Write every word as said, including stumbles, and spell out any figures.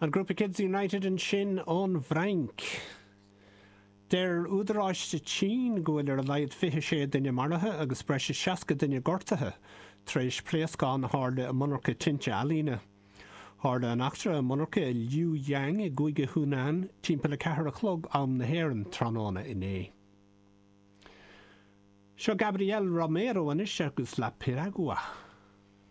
An grúpa Kids United ansin ón bhFrainc. Deir údaráis sa tSín go bhfuil ar a laghad fiche sé duine maraithe agus breis is seasca duine gortaithe tar éis pléascán a tharla i monarcha tinte ealaíne. Tharla an eachtra i monarcha i Liuyang i gcúige Hunan timpeall a ceathair a chlog am na hÉireann tráthnóna inné. Seo Gabriel Romero anois agus La Piragua.